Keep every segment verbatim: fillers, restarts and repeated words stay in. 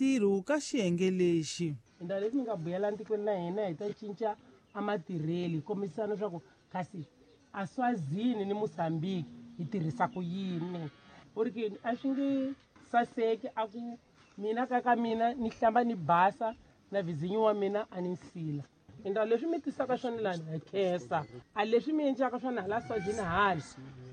ntirho ka xiyenge lexi. Ndhawu leswi mi nga buyela ntikweni na hina hi ta cinca a matirheli hi kombisana leswaku kasi a Swazini ni Mozambique hi tirhisa ku yini. U ri ki a swi nge saseki a ku mina ka ka mina ni hlamba ni basa na vizinyo wa mina a ni nsila. Ndhawu leswi mi tisaka swona lani hi khensa a leswi mi endlaka swona hala Swazini hala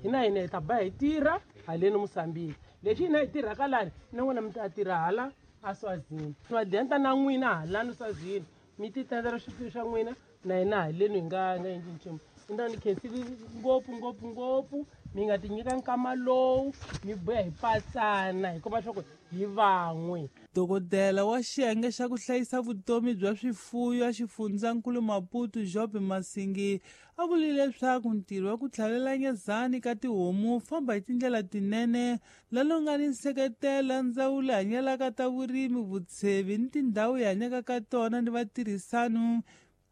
hina hina hi ta ba hi tirha haleni Mozambique leswi hina hi tirhaka lani na n'wina mi ta tirha hala a Swazini madenta na n'wina halani Swazini mi ti tendela swilo swa n'wina na hina haleni hi nga nga endli nchumu. Ndhawu ni khensile ngopfu ngopfu ngopfu mi nga ti nyika nkama lowu mi buya hi patsana hi komba leswaku hi van'we. Dokodela wa xiyenge xa ku hlayisa vutomi bya swifuyo a xifundzankulu Maputo Job Masingi a vurile leswaku ntirho wa ku tlhavela nyezani ka tihomu wu famba hi tindlela tinene lalo nga ni nseketelo ndzawulo hanyelaka ta vurimi vutshevi ni tindhawu hi hanyaka ka tona ni vatirhisano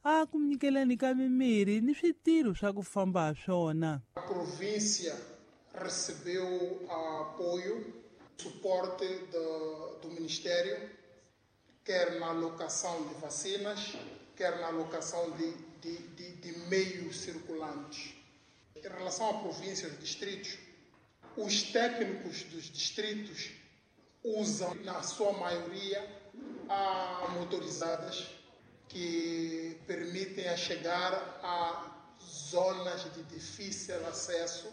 a ku nyikeleni ka mimirhi ni switirho swa ku famba ha swona. A província recebeu apoio, suporte do, do Ministério, quer na alocação de vacinas, quer na alocação de, de, de, de meios circulantes. Em relação à província e aos distritos, os técnicos dos distritos usam, na sua maioria, a motorizadas que permitem a chegar a zonas de difícil acesso.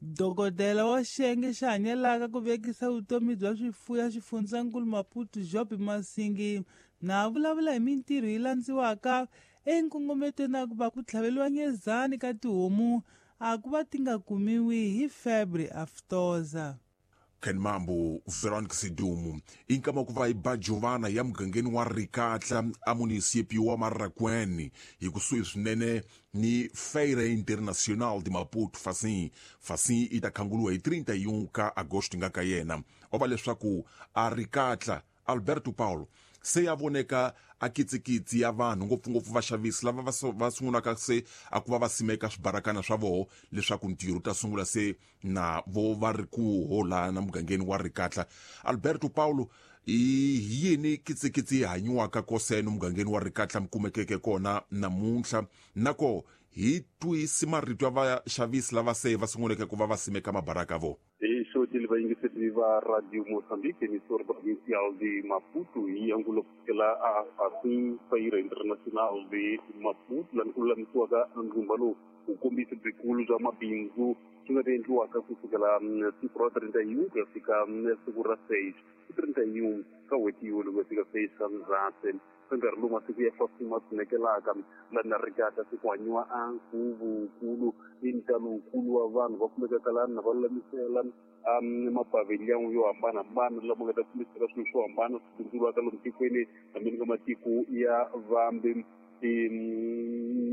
Dokodela wa xiyenge xa hanyelaka ku vekisa vutomi bya swifuyo a xifundzankulu Maputo Job Masingi na vulavula hi mintirho yi landziwaka enkongometweni a ku va ku tlhaveliwa nyezani ka tihomu a ku va ti nga kumiwi hi febre aftosa. Ken Mambo, Veronica Sidumu, inkama ku va iba Giovanna ya mugangeni wa Rikatla a município wa Marracuene hi kusuhi swinene ni Feira Internacional de Maputo Facim. Facim i ta khanguluwa hi trinta e um ka agosto nga ka yena. O va leswaku a Rikatla Alberto Paulo se ya voneka a kitsikitsi ya vanhu ngopfungopfu vaxavisi lava va va sungulaka se a ku va va simeka swibarakana swa voho leswaku ntirho ta sungula se na vo va ri ku hola na mugangeni wa Rikatla. Alberto Paulo i yini kitsikitsi yi hanyiwaka koseno mugangeni wa Rikatla mi kumekeke kona namuntlha nako hi twisi marito ya vaxavisi lava se va sunguleke ku va va simeka mabaraka vo. Xotile vayingiseri va Radio Mozambique emissora provincial de Maputo hi angulo kusukela a Facim Feira Internacional de Maputo laha ku lulamisiwaka ndzumba lowu wu kombisa byikulu bya mabindzu swi nga ta endliwaka kusukela siku ra trinta e um ku ya fika siku ra seis trinta e um ka n'hweti yolo ku ya fika seis ka Ndzhati. Ka nkarhi lowu masiku ya Facim ma tshunekelaka laha na Rikatla se ku hanyiwa a nkhuvo wukulu ni ntalo wukulu wa vanhu va kumekaka lani na va lulamisela mapavilhão yo hambanahambana lama nga ta kombisaka swilo swo hambana swi bindzuriwaka lomu tikweni hambi ka matiko ya vambe.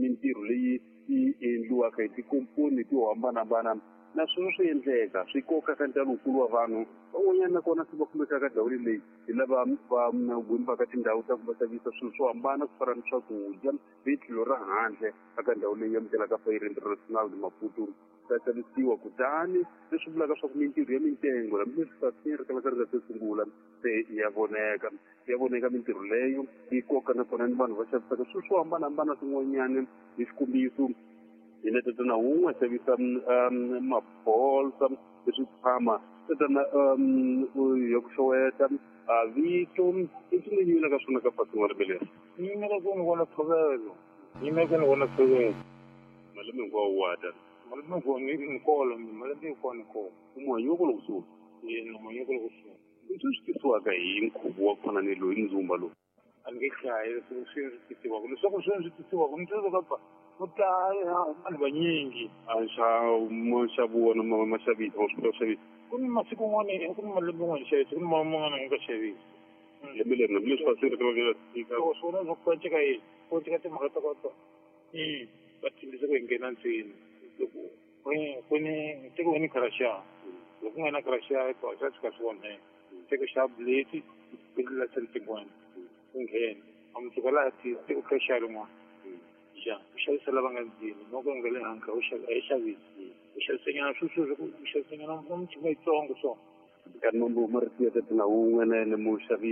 Mintirho leyi yi endliwaka hi tikomponi to hambanahambana na sweswo swi endleka swi koka ka ntalo wukulu wa vanhu van'wanyana nakona se va kumekaka ndhawini leyi hi lava va gwimbaka tindhawu ta ku va xavisa swilo swo hambana ku fana ni swakudya hi tlhelo ra handle eka ndhawu leyi amukelaka Feira Internacional de Maputo ta xavisiwa. Kutani leswi vulaka swa ku mintirho ya mitengo hambileswi Facim ri kalaka ri nga se sungula se ya voneka ya voneka mintirho leyo yi koka nakona ni vanhu va xavisaka swilo swo hambanahambana swin'wanyana. Hi xikombiso hina tatana wun'we a xavisa mabolsa leswi tshama tatana ya ku xeweta a vito i swi nga yimela ka swona ka Facim wa lembe leri. Yimela ku ni vona ntshovelo yimela ku ni vona ntshovelo malembe hinkwawo wa ta malembe hinkwawo ni ni kolo malembe hinkwawo ni kolo u muhanyiwa kwalo kusuhi yena muhanyiwa kwalo kusuhi. Leswi swi tisiwaka hi nkhuvo wa ku fana ni loyi ndzumba lowu a ni nge hlayi leswi swi swi tisiwaka leswaku swi swi tisiwaka ni twile ka pa ku ta vanhu vanyingi a nxavo nxavo wona ma ma xavisa ma swi kota ku xavisa ku ni masiku n'wana ku ni malembe n'wana xavisa ku ni man'wana nga xavisi lembe leri hambileswi Facim ri kalaka ri nga swona swa ku cinca yini ku cinca timhaka ta kota i va tshembisa ku hi nghena ndzeni loko ku ni tiko ni kharasha loko ku nga na kharasha to swa tshika swi onheka tiko xa bleti ku ndlela tin'wana ku nghena a mutsuka laha tiko kha rin'wana ja u xavisa lava nga ndzeni loko u nga le handle u xava a yi xavisi u xavisanyana sweswo u xavisanyana na michini yitsongo so nkarhi mambo marito ya tatana wun'we na yena muxavi.